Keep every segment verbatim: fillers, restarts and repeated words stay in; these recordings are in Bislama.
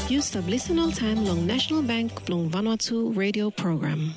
Yu stap lisen oltaem long National Bank blong Vanuatu radio program.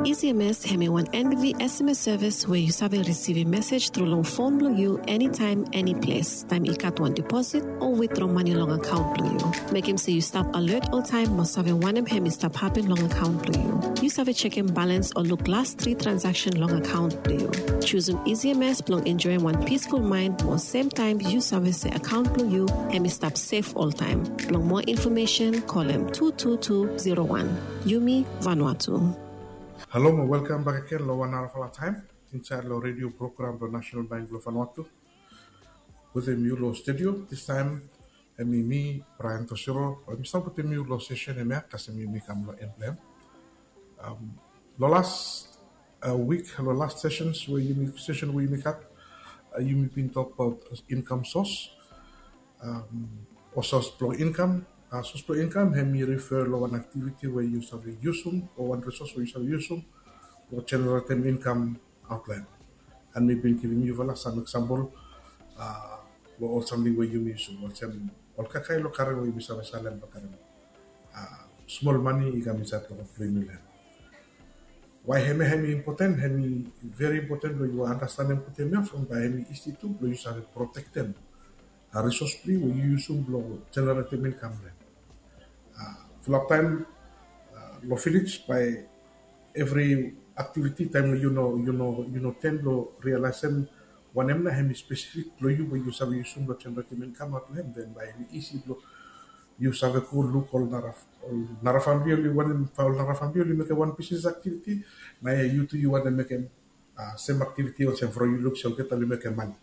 E C M S hemi wan N B V S M S service we yu save risivim mesej tru long fon blong yu enitaem, eniples, taem i gat wan deposit o witdro mane long akaon blong yu. Mekem se yu stap alert oltaem mo save wanem hemi stap hapen long akaon blong yu. Yu save jekem balans o luk las tri transaksen long akaon blong yu. Jusum E C M S blong enjoem wan peaceful mind mo semtaem yu save se akaon blong yu hemi stap sef oltaem. Blong moa infomesen, kolem tu tu tu zero wan. Yumi Vanuatu. Halo mo welkam bak agen long wan narafala taem insaed long redio program blong National Bank blong Vanuatu. Wetem yu long studio distaem hemi mi, Brian Tosiro, we mi stap wetem yu long sesen hemia kasem yumi kam long en blong hem. Long las wik, long las sesens we yumi, sesen we yumi gat, yumi bin tokbaot inkam sos, o sos blong inkam. Sos blong inkam hemi refer long wan aktiviti we yu save yusum o wan risos we yu save yusum blong jeneretem inkam aotlaen. An mi bin givim yufala sam eksampol long ol samting we yumi yusum, olsem ol kakae long karen we yumi save salem blo karem smol mane i kam insaed long ol blong yumi laen. Wae hemia hemi impoten? Hemi veri impoten blong yu andastanem gud hemia from bae hemi isi tu blong yu save protektem risos blong yu we yu yusum blong jeneretem inkam laen. Fulap taem long vilej, bae evri aktiviti taem we yu no, yu no, yu no ten blong rialaesem wanem nao hemi spesifik blong yu we yu save yusum blong jeneretem inkam aot long hem, den bae hemi isi blong yu save go luk ol nara, ol nara famili oli wanem, ol nara famili oli mekem wan bisnes aktiviti, nao yu tu yu wantem mekem sem aktiviti olsem from yu luk se olgeta oli mekem mane.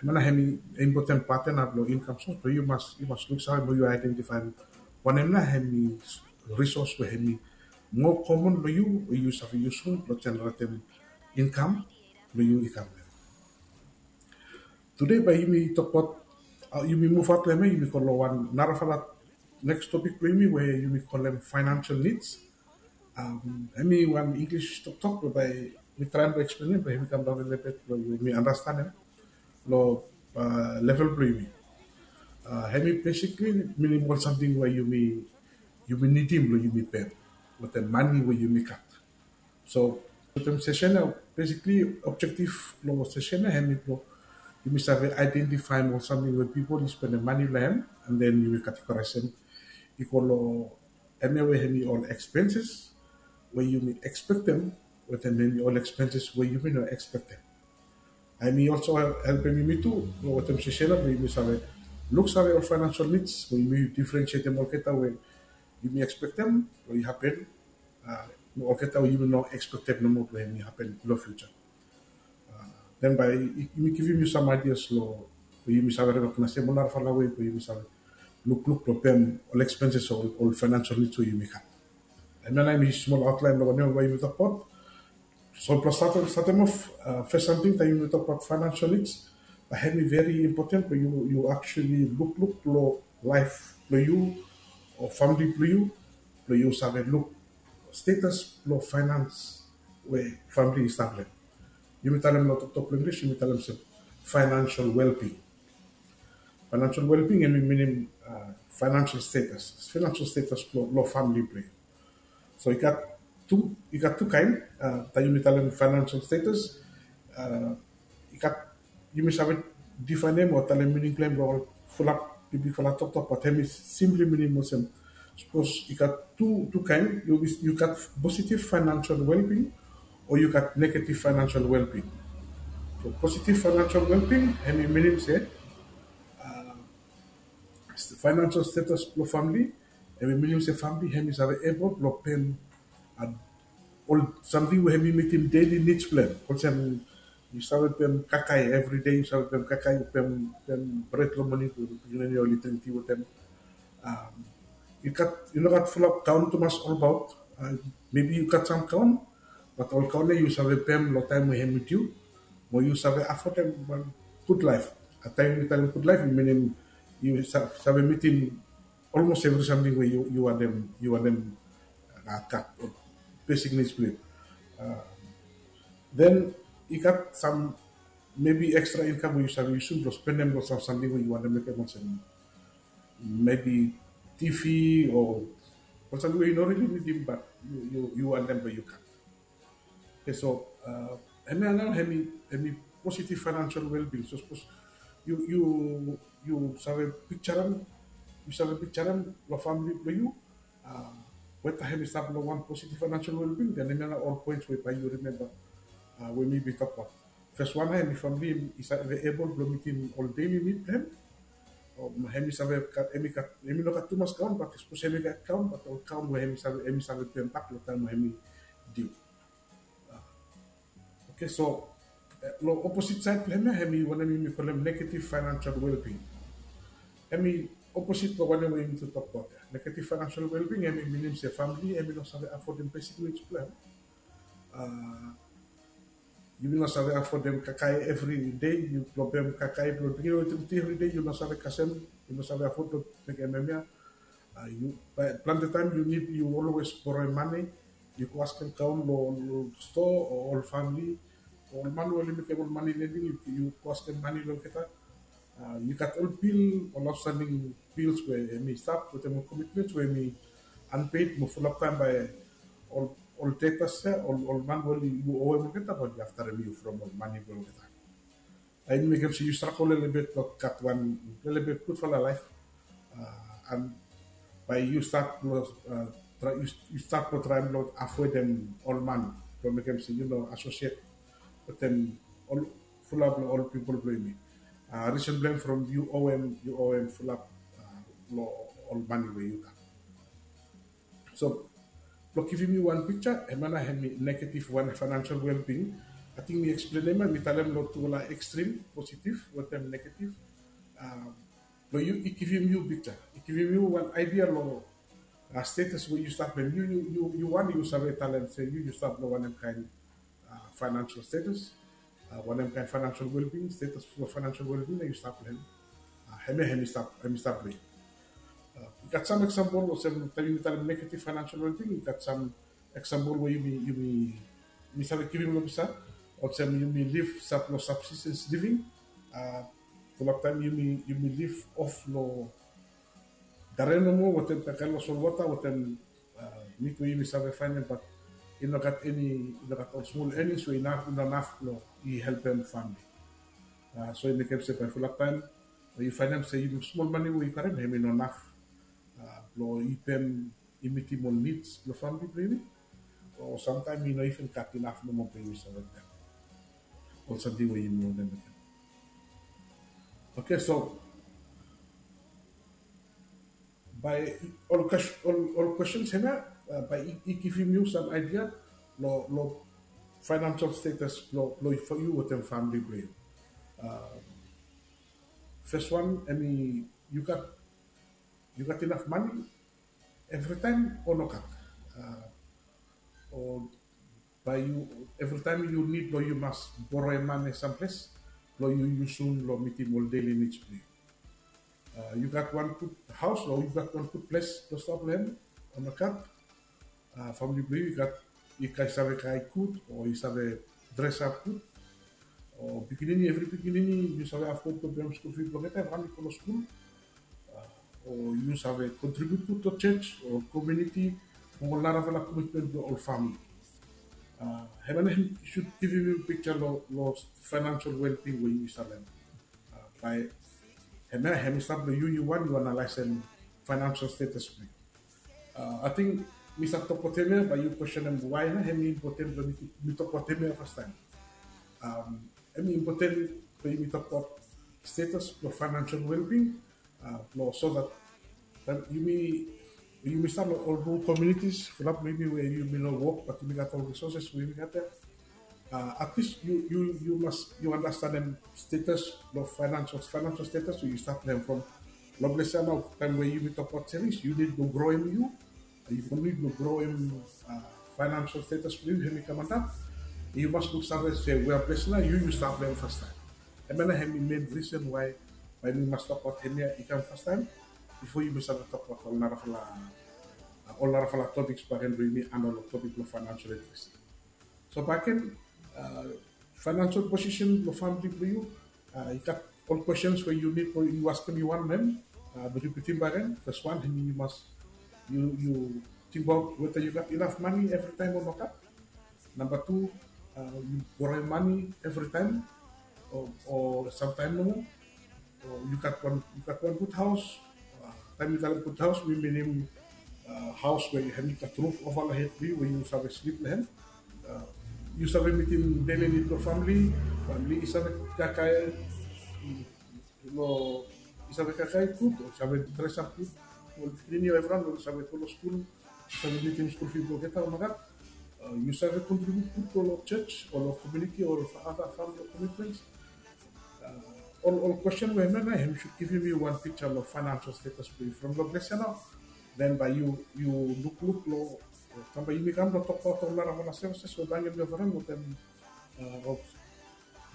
Hemia nao hemi impoten paten blong inkam sos, so yu mas, yu mas luksave mo yu aedentifaem wanem nao hemi risos we hemi moa komon long yu we yu save yusum blong jeneretem inkam blong yu i kam. Tude bae yumi tokbaot, yumi muv aot long hemia, yumi go long wan narafala neks topik blong yumi we yumi kolem financial needs. Hemi wan English toktok we bae mi traem blong eksplenem bae hemi kamdaon lelebet blong yumi andastanem long level blong yumi. Hemi besikli minim ol samting we yumi, yumi nidim blong yumi pem wetem mane we yumi gat. So wetem sesen ya, besikli objektif blong sesen ya hemi blong yumi save aedentifaem ol samting we pipol i spendem mane long hem, an den yumi kategoraesem i go long hemia we hemi ol ekspenses we yumi ekspektem wetem hemi ol ekspenses we yumi no ekspektem. Hemi olso helpem yumi tu wetem sesen ya blong yumi save luksave ol financial needs we yumi difrensietem olgeta we yumi ekspektem blong i hapen, olgeta we yumi no ekspektem nomo blong hemi hapen long fiuja. Den bae yumi givim yu sam aidias long we yumi save rekognaesem ol narafala wei we yumi save lukluk blong pem ol ekspenses o ol financial needs we yumi gat. Hemia nao hemi smol aotlaen blong wanem we yumi tokbaot. So blong statem, statem of, fes samting taem yumi tokbaot financial needs, bae hemi veri impoten blong yu, yu actually lukluk long laef blong yu o famili blong yu, blong yu save luk status blong finance we famili i stap long hem. Yumi talem long toktok blong English, yumi talem se financial well-being. Financial well-being hemi minim financial status, financial status blong, long famili blong yu. So i gat tu, i gat tu kaen, taem yumi talem financial status, i gat, yumi save difaenem o talem mining blong hem long ol fulap bigbigfala toktok, bat hemi simpli minim olsem, sapos i gat tu, tu kaen, yu, yu gat positive financial well-being o yu gat negative financial well-being. So positive financial well-being hemi minim se financial status blong famili, hemi minim se famili hemi save ebol blong pem ol samting we hemi mitim daily needs blong hem. Olsem yu save pem kakae, evri dei yu save pem kakae, pem, pem bred long moning blong pikinini oli dring ti wetem. Yu gat, yu no gat fulap gaon tumas olbaot. Maybe yu gat sam gaon, bat ol gaon ya yu save pem long taem we hemi diu, mo yu save afodem wan gud laef. Taem yu talem gud laef, i minim yu save mitim olmos evri samting we yu, yu wantem, yu wantem gat, besik nids blong yu. Den i gat sam maybe ekstra inkam we yu save yusum blong spendem long sam samting we yu wantem mekem olsem, maybe T V o ol samting we yu no really nidim, but yu yu yu wantem blong yu gat. Okay, so uh, hemia nao hemi hemi positive financial well-being. So sapos yu yu yu save picture am, yu save picture am long family blong yu, uh, weta hemi stap long wan positive financial well-being, then hemia nao ol points we bae yu remember uh, we mi bin tok about. First one, hemi family i save able blong mitim ol daily need blong hem. Hemi save gat hemi gat hemi no gat tumas kaon, but sapos hemi gat kaon, but ol kaon we hemi save hemi save pem bak long taem we hemi due. Okay, so uh, long opposite side blong hemia hemi wanem yumi kolem negative financial well-being. Hemi opposite blong wanem we yumi tu tokbaot ya. Negative financial well-being hemi minim se family hemi no save afodem basic needs blong hem. Uh, yumi no save afodem kakae evri dei, yu blong pem kakae blong dringi eletrisiti evri dei, yu no save kasem, yu no save afod blong mekem hemia. Uh, yu plante taem yu nid yu always borrowem mane, yu go askem kaon long ol stoa o ol famili o ol man we oli mekem ol mane lending, yu go askem mane long olgeta. Uh, yu gat ol bil, ol outstanding bills we hemi stap wetem ol commitments we hemi unpaid mo fulap taem bae ol ol debtors ya, ol ol man we oli yu owem olgeta bae oli aftarem yu from ol mane blong olgeta. Hemi mekem se yu stragol lelebet blong gat wan lelebet gudfala laef. Uh, and bae yu stat blong uh, yu stat blong traem blong avoedem ol man blong mekem se yu no associate wetem ol fulap long ol pipol blong yumi. Uh, risen blong hem from yu owem yu owem fulap uh, long ol mane we yu gat. So blong givim yu wan piksa, hemia nao hemi negative wan financial well-being. Ating mi eksplenem ya, mi talem long tufala extreme, positive wetem negative. Blong yu i givim yu piksa, i givim yu wan idea long status we yu stap long hem. Yu wan yu save talem se yu yu stap long wanem kaen financial status, wanem kaen financial well-being, status blong financial well-being we yu stap long hem. Hemia hemi stap long yu. I gat sam example olsem taem yumi talem negative financial well-being, i gat sam example we yumi yumi save givim long pisa, olsem yumi liv stap long subsistence living. Fulap taem yumi yumi liv of long dare nomo wetem kakae long solwota wetem nid we yumi save faenem, bat i no gat eni, i no gat ol smol earnings we i no inaf blong i helpem famili. So i mekem se bae fulap taem yu faenem se yumi smol mane we yu karem hemi no inaf blong i pem, i mitim ol nids blong famili blong yumi. O samtaem i no iven gat inaf nomo blong yumi save pem ol samting we yumi wantem mekem. Okay, so bae ol questions hemia bae i givim yu sam idea long financial status blong yu wetem famili blong yu. First one, hemi yu gat yu gat inaf mane evritaem o nogat? O bae yu evritaem yu nid blong yu mas boroem mane samples blong yu yusum long mitim ol daily needs blong yu? Yu gat wan gud haos o yu gat wan gud ples blong stap long hem o nogat? Famili blong yu i gat, i save kakae gud o i save dresap gud? O pikinini, evri pikinini yu save afod blong pem skul fi blong olgeta taem oli go long skul? O yu save kontribiut gud long jos o komuniti o ol narafala komitmen blong ol famili? Hemia nao hemi sud givim yu piksa long financial well-being we yu save bae hemia hemi stap long yu yu wan yu analaesem financial status blong yu. Ating mi save tokbaot hemia bae yu kwestenem wae nao hemi impoten blong mi tokbaot hemia fastaem. Hemi impoten blong yumi tokbaot status blong financial well-being blong so that taem yumi yumi stap long ol rural communities, fulap blong yumi we yumi no wok bat yumi gat ol resources we yumi gat ya. At least yu yu yu mas yu andastanem status blong financial financial status we yu stap long hem from long ples ya nao taem we yumi tokbaot savings yu nid blong groem yu, yu nid blong groem financial status blong yu hemi kam antap. Yu mas luksave se wea ples nao yu yu stap long hem fastaem. Hemia nao hemi mein risen wae bae yumi mas tokbaot hemia i kam fastaem bifo yumi save tokbaot ol narafala ol narafala topiks bakegen blong yumi handol long topik blong financial literacy. So bakegen financial posisen blong famili blong yu, i gat ol kwestens we yu nid blong yu askem yu wan long hem. But yu putim bagen, fes wan, hemi yu mas, yu tingbaot weta yu gat inaf mane evritaem o nogat. Namba tu, yu boroem mane evritaem o samtaem nomo. Yu gat wan gud haos. Taem yu talem gud haos, mi minim haos we hemi gat ruf ova long hed blong yu we yu save slip long hem. Yu save mitim deli nid blong famili. Famili i save kakae, long i save kakae gud, o save dresap gud. Ol pikinini o evriwan oli save go long skul, save mitim skul fi blong olgeta o nogat. Yu save kontribut gud long jos o long komuniti o long ada famili komitments. Ol kwesten we hemia nao hem sud givim yu wan piksa long faenansol stetas blong yu from long ples ya nao. Den bae yu lukluk long, taem bae yumi kam blong tokbaot ol narafala sevises we bae hangem yu ova long taem of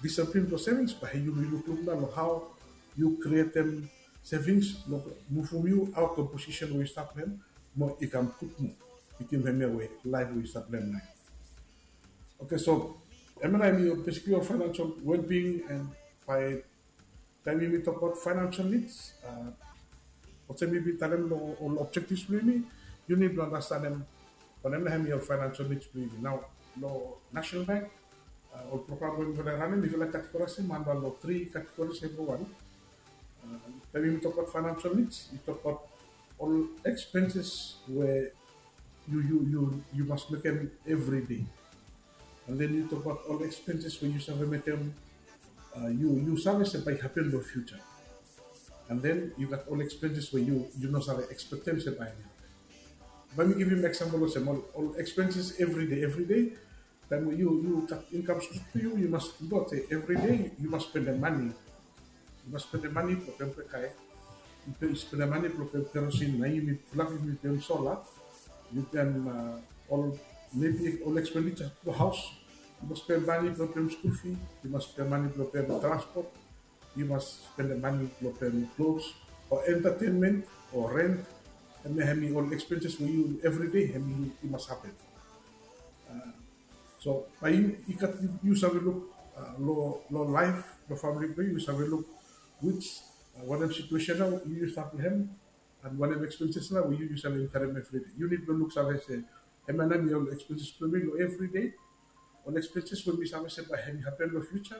disiplin blong sevings, bae yumi lukluk nao long hao yu krietem sevings blong muvum yu aot long posisen we yu stap long hem, mo i kam gud moa. Yu ting hemia we laef we yu stap long hem nao. Oke, so hemia nao hemi besikli ol faenansol wellbeing. And bae taem yumi tokbaot faenansol nids, olsem mi bin talem long ol objektivs blong yumi, yu nid blong andastanem wanem nao hemi ol faenansol nids blong yumi. Nao long National Bank, ol program we mifala i ranem, mifala i kategoraisim antap long tri kategoris evriwan. Taem yumi tokbaot faenansol nids, yu tokbaot ol ekspenses we yu, yu, yu, yu mas mekem evri dei. And then yu tokbaot ol ekspenses we yu save mekem, yu, yu save se bae i hapen long fiuja. And then yu gat ol ekspenses we yu, yu no save ekspektem se bae i hapen. Bae mi givim eksampol olsem, ol, ol ekspenses evri dei, evri dei. Taem we yu, yu gat inkam stret blong yu, yu mas tingbaot se evri dei yu mas spendem mane. Yu mas spendem mane blong pem kakae. Yu spendem mane blong pem kerosene, nao yumi pulap yumi pem sola. Yu pem ol, maybe ol ekspenses blong haos. Yu mas spendem mane blong pem skul fi. Yu mas spendem mane blong pem transpot. Yu mas spendem mane blong pem klos o entatenmen o rent. Hemia hemi ol ekspenses we yu evri dei hemi i mas hapen. So bae yu, yu gat, yu save luk long, long laef, long famili blong yu, yu save luk which, wanem situesen nao yu, yu stap long hem, and wanem ekspenses nao we yu, yu save inkarem evri dei. Yu nid blong luksave se hemia nao hemi ol ekspenses blong mi long evri dei. Ol ekspenses we mi save se bae hemi hapen long fiuja.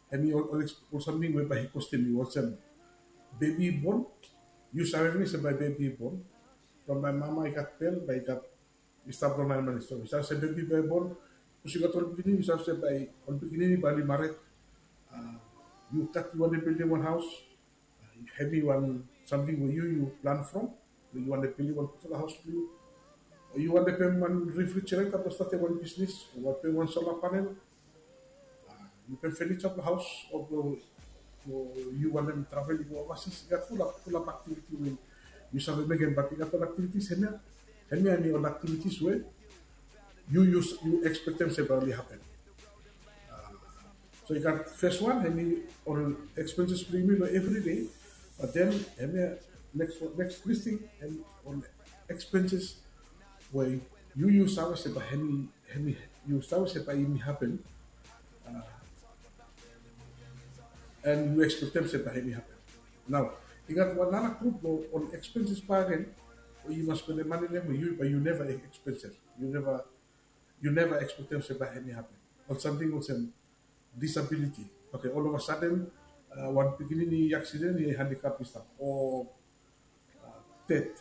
Hemi ol, ol samting we bae i kostem yu olsem bebi i bon. Yu save pinis se bae bebi i bon. From bae mama i gat bel, bae i gat, i stap long naen manis. So yu save se bebi bae i bon. Sapos yu gat ol pikinini, yu save se bae ol pikinini bae oli mared. Yu gat, yu wantem bildim wan haos. Hemi wan samting we yu, yu plan from. Yu wantem bildim wan gudfala haos blong yu. O yu wantem pem wan refrigerator blong statem wan bisnis, o wantem pem wan solar panel. Yu pem furniture blong haos, o blong, o yu wantem travel i go overseas, i gat fulap, fulap aktiviti we yu save mekem, bat i gat ol aktivitis hemia. Hemia hemi ol aktivitis we yu, yu, yu ekspektem se bae oli hapen. So i gat fes wan, hemi ol ekspenses blong yumi long evri dei. Bat den hemia neks, neks listing, hemi ol ekspenses we yu, yu save se bae hemi, hemi, yu save se bae hemi hapen. And yu ekspektem se bae hemi hapen. Nao i gat wan nara grup blong ol ekspenses bakegen we yu mas spendem mane long hem we yu, bae yu neva ekspektem. Yu neva, yu neva ekspektem se bae hemi hapen. Ol samting olsem disabiliti. Oke, ol ova saden wan pikinini i aksiden, i handikap i stap, o ded.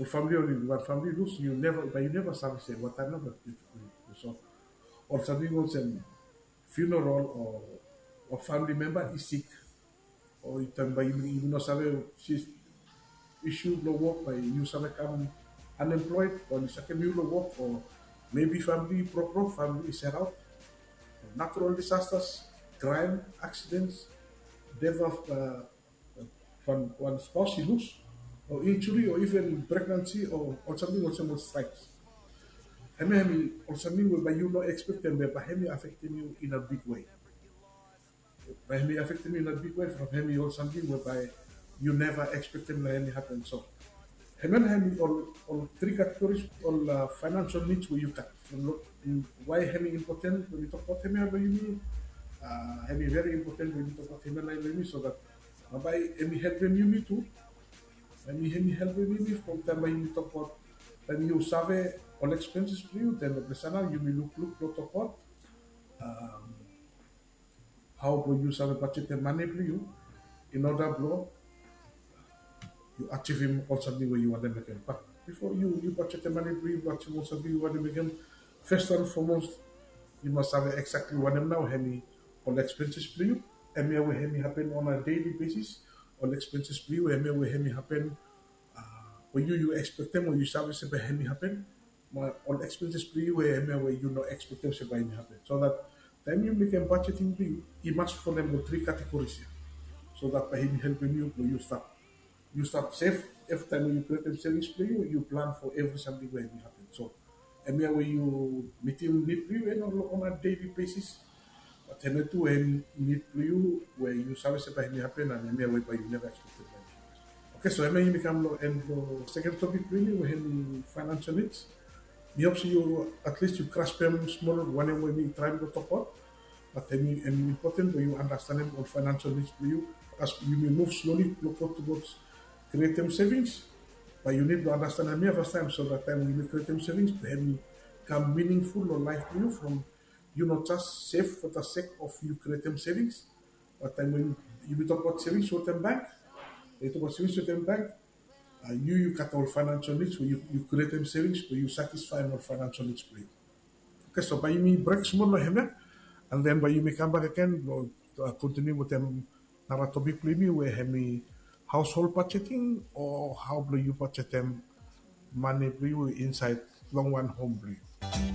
Ol famili, oli wan famili i lus, yu neva, bae yu neva save se wataem nao bae. So ol samting olsem funeral o, o famili memba i sik, o taem bae yumi, yumi no save, isu blong wok, bae yu save kam unemployed, bae oli sakem yu long wok, o maybe famili i brokbrok, famili i selaot, natural disasters, kraem, accidents, death of wan, wan spouse i lus, o injury, o even pregnancy, o ol samting olsem ol strikes. Hemia hemi ol samting we bae yu no ekspektem be bae hemi afektem yu in a big way. Bae hemi afektem yu in a big way from hemi ol samting we bae yu neva ekspektem long hemi hapen. So hemia nao hemi ol, ol tri kategoris, ol faenansol nids we yu gat. From long, wae hemi impoten we mi tokbaot hemia long yumi? Hemi veri impoten we mi tokbaot hemia nao long yumi, so dat Bae hemi helpem yumi tu. Hemi hemi helpem yumi from taem bae yumi tokbaot, taem yu save ol expenses blong yu, then bambae nao yumi lukluk blong tokbaot hao blong yu save bajetem mane blong yu in order blong yu ajivim ol samting we yu wantem mekem. Bat bifo yu yu bajetem mane blong yu blong ajivim ol samting yu wantem mekem, first and foremost yu mas save exactly wanem nao hemi ol expenses blong yu, hemia we hemi hapen on a daily basis. Ol expenses blong yu hemia we hemi hapen we yu yu expectem o yu save se bae hemi hapen, mo ol expenses blong yu we hemia we yu no expectem se bae hemi hapen. So that taem yu mekem budgeting blong yu, i mas folem ol three categories ia. So that bae hemi helpem yu blong yu stap yu stap sef. Evri taem we yu createm savings blong yu, yu plan for evri samting we hemi hapen. So hemia we yu mitim nid blong yu on a daily basis. Bat hemia tu hemi nid blong yu we yu save se bae hemi hapen, and hemia we bae yu neva expectem bae hemi hapen. Okay, so hemia yumi kam long en blong second topic blong yumi we hemi financial needs. Mi hop se yu at least yu graspem smol wanem we mi traem blong tokbaot. Bat hemi important blong yu andastanem ol financial needs blong yu as yumi muv slowly blong go towards createm savings. Bae yu nid blong andastanem ia fastaem, so that taem we yumi createm savings bae hemi kam meaningful long laef blong yu from yu no just save for the sake of yu createm savings. Bat taem we yumi tokbaot savings wetem bank, yu tokbaot savings wetem bank, yu yu gat ol financial needs we yu createm savings blong yu satisfaem ol financial needs blong yu. Okay, so bae yumi brek smol long hemia, and then bae yumi kambak agen blong kontiniu wetem nara topic blong yumi we hemi household budgeting o hao blong yu bajetem mane blong yu insaed long wan hom blong yu.